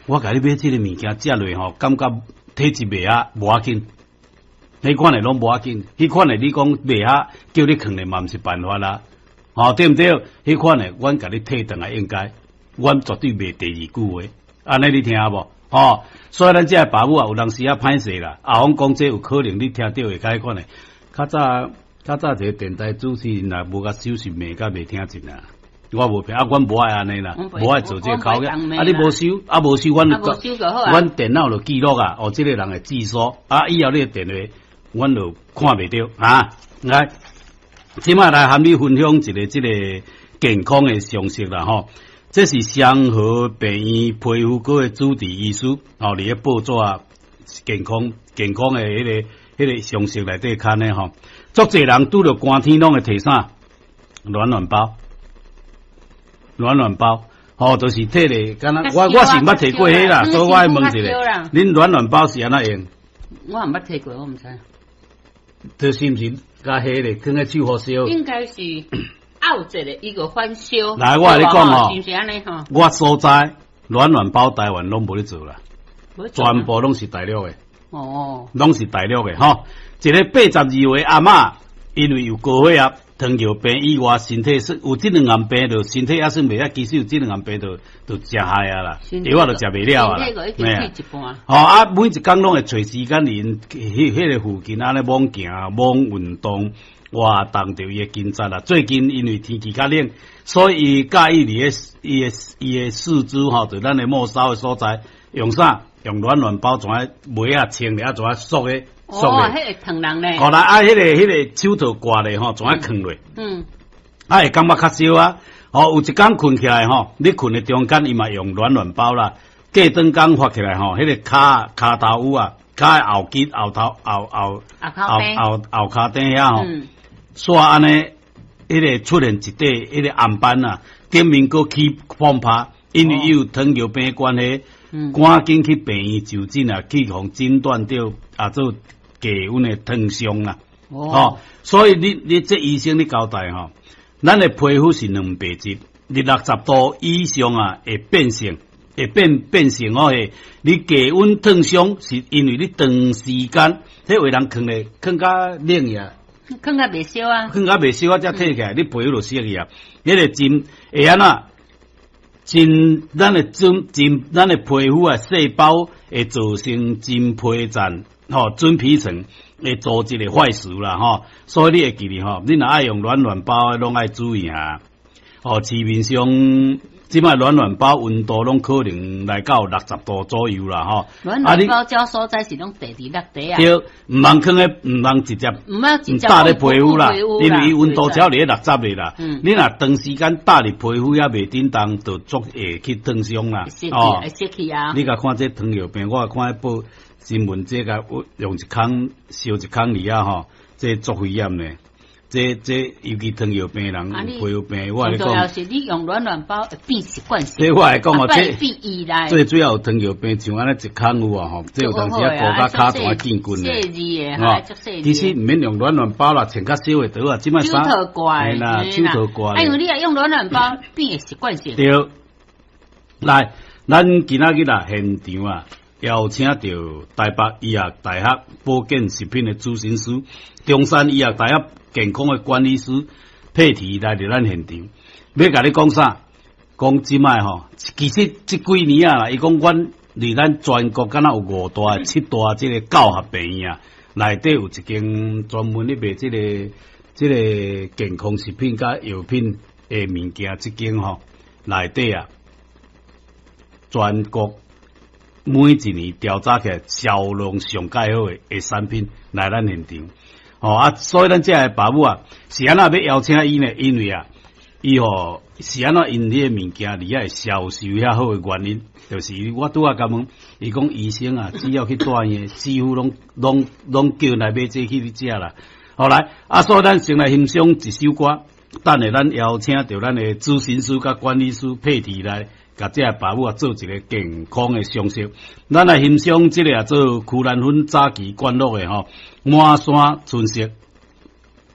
我共你買這个物件食落吼，感覺體質袂合，無要緊。彼款的攏無要緊，彼款的你講袂合，叫你囥咧嘛毋是辦法啦，吼，對毋對？彼款的，阮共你退轉來應該，阮絕對袂第二句話，按呢你聽無？吼，所以咱這个爸母啊，有當時啊歹勢啦，阿峰講這有可能你聽著會較彼款的，較早較早一个電台主持人若無共收拾罵甲袂聽真啊。我無騙啊，阮無愛按呢啦，無愛做這个口業。啊，你無收，啊無收，阮阮電腦就記錄啊，哦，這个人的住所，啊，以後你的電話，阮就看袂著啊。來，這擺來和你分享一个這个健康的常識啦吼。這是雙和病院皮膚科的主治醫師，哦，佇咧報紙健康健康的彼个常識內底刊的吼。足濟人拄著寒天攏會提啥？暖暖包，暖暖包，吼，就是提咧，敢若我是毋捌提過彼啦，所以我愛問一下，恁暖暖包是按怎用？我毋捌提過，我毋知。這是毋是共彼咧？囥咧手予燒？應該是拗一个，伊個反燒。來，我共你講吼，是毋是按呢吼？我所在暖暖包台灣攏無咧做啦，全部攏是大陸的。哦，攏是大陸的吼。一个82歲阿嬤，因為有高血壓、糖尿病以外，身體算有這兩項病，就身體還算袂曉，其實有這兩項病就就誠害啊啦，藥仔就食袂了啊啦。吼啊，每一工攏會揣時間佇彼彼个附近按呢罔行、罔運動，活動著伊的筋力啦。最近因為天氣較冷，所以伊佮意佇咧伊的四肢吼，就咱的末梢的所在，用啥？用暖暖包怎啊襪仔穿咧，啊怎啊縮的縮的。哦，彼會燙人咧。好啦，啊，彼个手套掛咧吼，怎啊囥落？啊，會感覺較燒啊。吼，有一工睏起來吼，你睏的中間伊嘛用暖暖包啦。過轉工發起來吼，彼个跤跤頭趺啊，跤的後肌後頭後後後後後跤頂遐吼，煞按呢，彼个出現一塊彼个紅斑啊，頂面閣起膨泡，因為伊有糖尿病的關係。趕緊去病院就診啊，去予診斷著啊做低溫的燙傷啦。哦，所以你這醫生你交代吼，咱的皮膚是蛋白質，佇60度以上啊會變性，會變變成哦。你低溫燙傷是因為你長時間，彼有的人囥咧囥較冷呀，囥較袂燒啊，囥較袂燒啊，才退起來，你皮膚就燒去啊。彼個真會按怎？真，咱的真真，咱的皮膚啊，細胞會造成真皮層吼，真皮層會組織的壞死啦吼，所以你會記得吼，你若愛用暖暖包，攏愛注意啊。哦，市面上這擺暖暖包溫度攏可能來到60度左右啦吼。暖暖包這所在是攏地佇落地啊。對，毋通囥咧，毋通直接，毋通直接搭咧皮膚啦，因為伊溫度只要佇咧六十的啦。你若長時間搭佇皮膚猶袂振動，就足會去燙傷啦。哦，會濕去啊。你共看這糖尿病，我看報新聞，這個用一空燒一空裡啊吼，這足危險的。這這尤其糖尿病人有皮膚病，我共你講。重要是你用暖暖包會變習慣性。這我來講哦，這變依賴。最主要有糖尿病，像按呢一空有啊吼，這有當時啊高甲跤全見骨的。細膩的，吼，其實毋免用暖暖包啦，穿較少的就好啊。這擺手套掛啦，手套掛。哎呦，你若用暖暖包變習慣性。對，來，咱今仔日啦現場啊，邀請著台北醫學大學保健食品的主診師，中山醫學大學健康的管理師佩提來佇咱現場，欲共你講啥？講這擺吼，其實這幾年啊，伊講阮佇咱全國敢若有五大、七大這个教學病院啊，內底有一間專門咧賣這个這个健康食品佮藥品的物件，這間吼內底啊，全國每一年調查起來銷量上蓋好的的產品來咱現場。哦啊，所以咱這个爸母啊，是按怎欲邀請伊呢？因為啊，伊吼是按怎𪜶彼个物件佇遐會銷售遐好的原因，就是我拄仔共問，伊講醫生啊，只要去住院，幾乎攏攏攏叫來買這去食啦。好來，啊，所以咱先來欣賞一首歌，等下咱邀請著咱的諮詢師佮管理師佩提來，共這个爸母啊做一个健康的常識。咱來欣賞這个啊做曲蘭芬早期灌錄的吼，滿山春色。